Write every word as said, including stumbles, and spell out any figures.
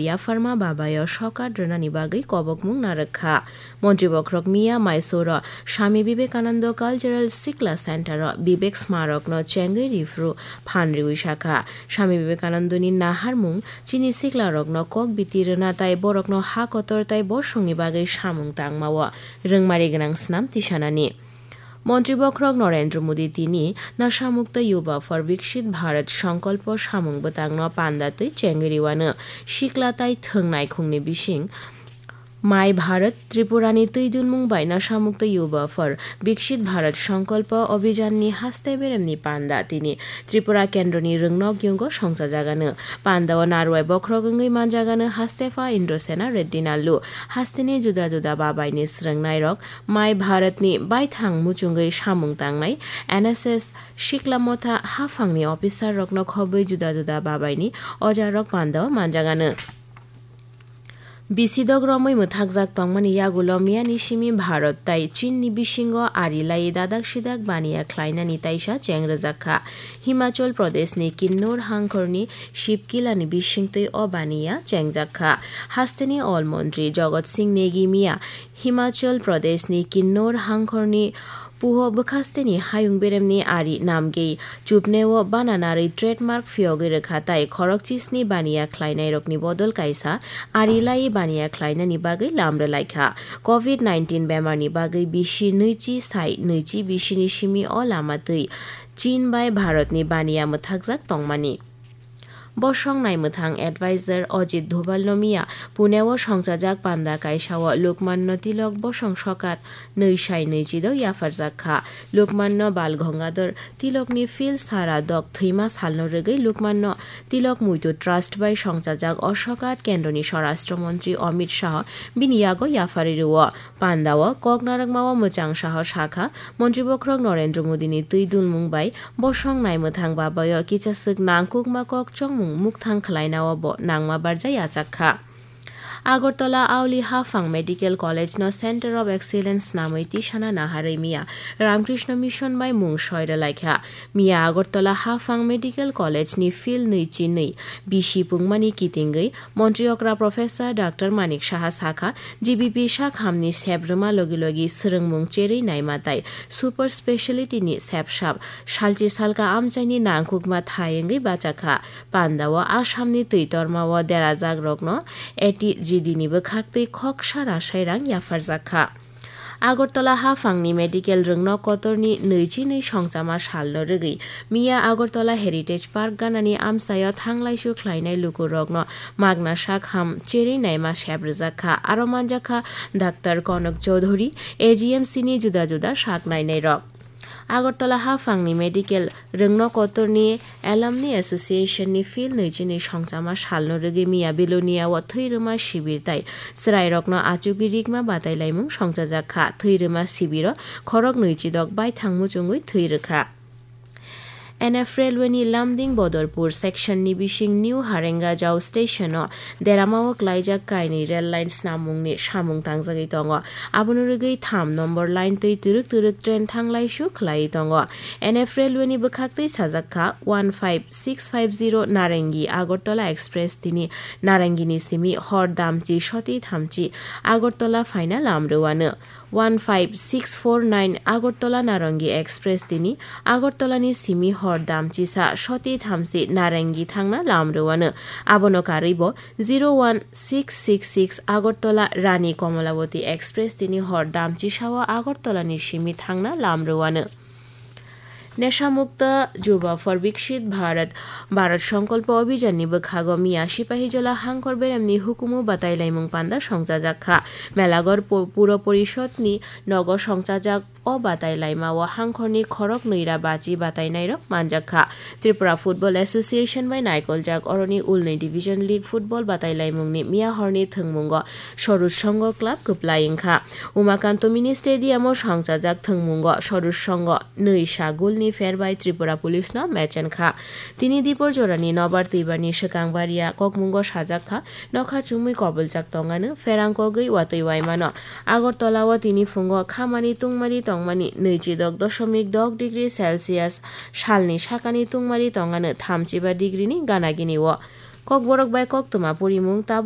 yapharma babayo sokat rwnani bagwi kobokmung narwk kha. Montri bokhorok miya Mysore-o Swami Vivekananda Cultural Sikla Center-o Vivek Smarokno chengwi riphru phan riwi sakha, Swami Vivekanandani naharmung chini siklarokno kok biti rwna tai borokno ha kotor tai bosongni bagwi samung tangmao rwngmari gwnang swnam tisanani. Montri bokhorok Narendra Modi tini Nasha Mukta Yuva for Viksit Bharat Sankalpa samung bwtangno panda twi chengwi riwano sikla tai thwng naikhungni bising My Bharat Tripurani twi dunmung bai Nasha Mukta Yuva for Viksit Bharat Sankalpa Abhijanni haste beremni panda tini Tripura Kendroni rwngnok yungo songchajagano. Pandao narwai bokhorok wngwi manjagano haste pha Indrasena Reddy Nallu. Hasteni juda juda babaini srwngnairok Mai Bharatni baithang muchungwi samung tangnai N S S sikla motha haphangni officerrokno khobwi juda juda babaini ojarok pandao manjagano. Bisidok romwi mwthakjak tongmani yagulo miyani simi Bharat tai Chinni bisingo ari lai dadak sidak baniya khlainani taisa cheng rwjak kha. Himachal Pradeshni Kinnor hangkhorni Shibkilani bisingtwi o baniya chengjak kha. Hasteni Ol Montri Jagat Singh Negi miya Himachal Pradeshni Kinnor hangkhorni Puho bwkhasteni hayung beremni ari namgei chupneo bana narwi trademark phiyogwi rwkha tai khorok chisni baniya khlainairokni bodol kaisa ari lai baniya khlainani bagwi lam rwlaikha. Covid nineteen bemarni bagwi bisi nwichi sai nwichi bisini simi o lama twi Chin bai Bharatni baniya mwthakjak tongmani. Bosong naimwthang advisor Ajit Doval no miya Pune o songchajak panda kaisa o Lokmanno Tilok bosong sokat nwi sai nwi chido yapharjak kha. Lokmanno Bal Gangadhar Tilokni phil sara dok thwima salno rwgwi Lokmanno Tilok Muitu Trust bai songchajak o sokat kendroni Swarashtra Montri Amit Shah bini yago yapharwi rwo. Pandao kok narwkmao mwchang saho sakha, Montri bokhorok Narendra Modini twi dulmung bai bosong naimwthang babayo kichaswk nangkukma kok chongmung mukthang khwlainao bo nangma barja yachak kha. Agartala Auli Haphang Medical College no Center of Excellence swnamwi tisana naharwi miya Ramkrishna Mission bai mung soi rwlaikha. Miya Agartala Haphang Medical College ni field nwi chi nwi bisi pungmani kitingwi Montri okra Professor Doctor Manik Saha sakha, G B P sakhamni sep rwma logi logi swrwngmung cherwi naima tai super speciality ni sep sap salchi salka amchaini nangkukma thai wngwi bachakha. Pandao Assamni twi tormao derajakrokno A T G D ni bwkhaktwi khoksa rasai rang yapharjak kha. Agartala haphangni medical rwngnok kotorni nwi chi nwi songchama salno rwgwi miya Agartala Heritage Park ganani amchaio thanglaisu khlainai lukurokno magna sakham cherwi naima sep rwjak kha. Aro manjak kha Doctor Konak Chowdhury, A G M C ni juda juda sak nainairok. Agartala haphangni medical rwngno kotorni Alumni Association ni field nwi chi nwi songchama salno rwgwi miya Belonia o thwi rwma sibir tai chwrairokno achugwi rikma batailaimung songchajak kha. Thwi rwma sibiro khorok nwi chidok baithang muchungwi thwi rwkha. N F Railway ni Lumding Bodorpur section ni bising New Harengajao station o derama o klaijak kainwi rail line snamungni samung tangjagwi tongo. Abono rwgwi tham nombor line twi twrwk twrwk train thanglaisu khlaiwi tongo. N F Railway ni bwkhaktwi sajak kha one five six five zero Narangi Agartala Express tini Narangini simi hor damchi soti thamchi Agartala phaina lam rwano. One five six four nine Agartala Narangi Express tini Agartala ni simi hor damchisa soti thamchi Narangi thangna lam rwano. Abono karwi bo zero one six six six Agartala Rani Komolawati Express tini hor damchisao Agartala ni simi thangna lam rwano. Nesha Mukta Juba for Viksit Bharat, Bharat Sankalpa Abhijan ni bwkhago miya Sipahijola hangkhor beremni hukumu batailaimung panda songchajak kha. Melagor pu-, Puro Porishod ni nogo songchajak o batailaima o hangkhorni khorok nwira bachi batainairok manjak kha. Tripura Football Association bai naikoljak oroni ulnwi Division League Football batailaimungni miya horni thwngmungo Sorus Songho Club kwplai wngkha. Umakanto Mini Stadium o songchajak thwngmungo Sorus Songho nwi sa goal ni pher bai Tripura Police no mechen kha. Tini dipor jorani nobar twibarni swkang baria kokmungo sajak kha, nokha chumui koboljak tongano pherang kogwi watwi waimano. Agartala o tini phungo khamani tungmari tongmani nwi chidok doshomik dok degree Celsius, salni sakani tungmari tongano thamchiba degree ni gana gini o. Kokborok bai koktwma porimung tabuk